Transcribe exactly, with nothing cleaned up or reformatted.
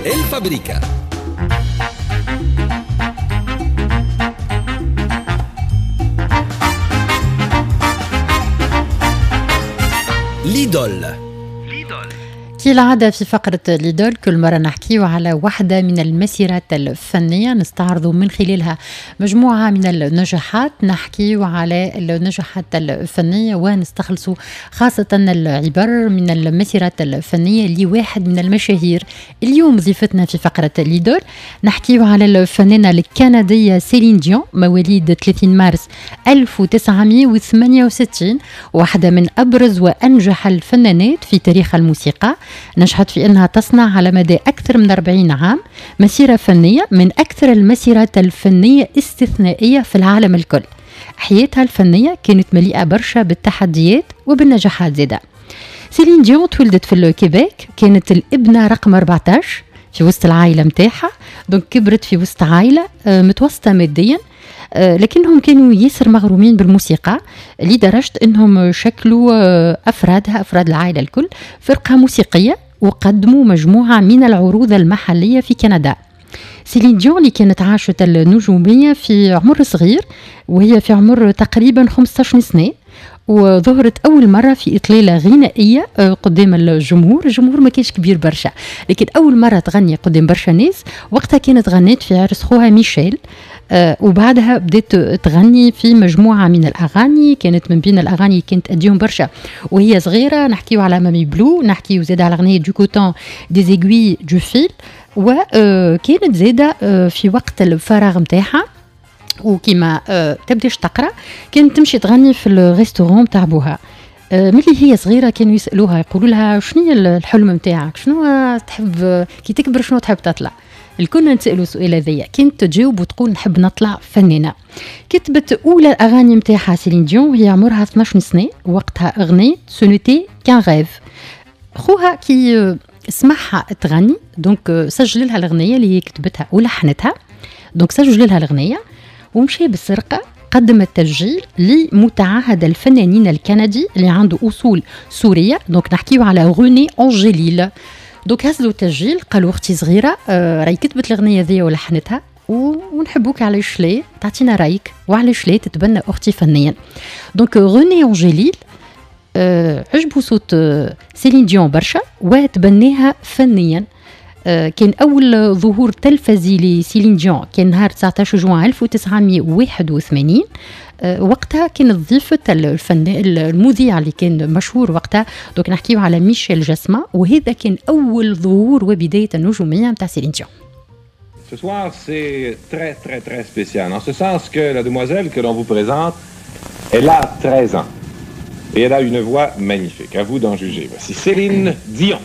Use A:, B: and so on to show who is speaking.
A: الفابريكا. l'idole.
B: كالعادة في فقرة l'idole كل مرة نحكيو على واحدة من المسيرات الفنية، نستعرض من خلالها مجموعة من النجاحات، نحكيو على النجاحات الفنية ونستخلص خاصة العبر من المسيرات الفنية لواحد من المشاهير. اليوم ضيفتنا في فقرة l'idole نحكيو على الفنانة الكندية سيلين ديون، مواليد ثلاثين مارس ألف وتسعمائة وثمانية وستين، واحدة من أبرز وأنجح الفنانات في تاريخ الموسيقى. نجحت في أنها تصنع على مدى أكثر من أربعين عام مسيرة فنية من أكثر المسيرات الفنية استثنائية في العالم الكل. حياتها الفنية كانت مليئة برشا بالتحديات وبالنجاحات زادة. سيلين ديون تولدت في الكيبيك، كانت الابنة رقم أربعتاش في وسط العائلة متاعها، donc كبرت في وسط عائلة متوسطة ماديا، لكنهم كانوا ياسر مغرومين بالموسيقى لدرجة انهم شكلوا افرادها افراد العائلة الكل فرقة موسيقية وقدموا مجموعة من العروض المحلية في كندا. سيلين ديون اللي كانت عاشت النجومية في عمر صغير، وهي في عمر تقريبا خمسطاش سنة، وظهرت أول مرة في إطلالة غنائية قدام الجمهور. الجمهور ما كانش كبير برشا، لكن أول مرة تغني قدام برشا ناس وقتها كانت غنت في عرس خوها ميشيل. وبعدها بدأت تغني في مجموعة من الأغاني، كانت من بين الأغاني كانت أديهم برشا وهي صغيرة. نحكيو على Mamie Blue، نحكيو زاد على أغنية du coton des aiguilles du fil. وكانت زادة في وقت الفراغ متاعها وكما تبداش تقرا كانت تمشي تغني في ال restaurant تاع بوها. ملي هي صغيرة كانوا يسالوها يقولوا لها شنو هي الحلم نتاعك، شنو تحب كي تكبر، شنو تحب تطلع. الكل نسالوا السؤال هذايا، كانت تجاوب وتقول نحب نطلع فنانة. كتبت اولى الاغاني نتاعها سيلين ديون وهي عمرها اثناش سنة، وقتها اغنية Ce n'était qu'un rêve. خوها كي سمعها تغني donc سجل لها الاغنية اللي هي كتبتها ولحنتها، donc سجل لها الاغنية ومشي بالسرقة قدم التسجيل لمتعهد الفنانين الكندي اللي عنده اصول سورية، donc نحكيو على روني انجليل. donc هزلوا التسجيل قالوا اختي صغيرة آه راهي كتبت الاغنية ذي ولحنتها ونحبوك، علاش لا تعطينا رايك وعلاش لا تتبنى اختي فنيا. donc روني انجليل آه عجبو صوت آه سيلين ديون برشا وتبناها فنيا. كان أول ظهور تلفزي لسيلين ديون كان نهار تسعطاش جوان ألف وتسعمائة وواحد وثمانين. وقتها كانت ضيفة الفن المذيع اللي كان مشهور وقتها، donc نحكيو على ميشيل جاسما، وهذا كان أول ظهور وبداية النجومية نتاع سيلين ديون.
C: Ce soir, c'est très très très spécial, en ce sens que la demoiselle que l'on vous présente, elle a treize ans et elle a une voix magnifique. À vous d'en juger. Voici Céline Dion.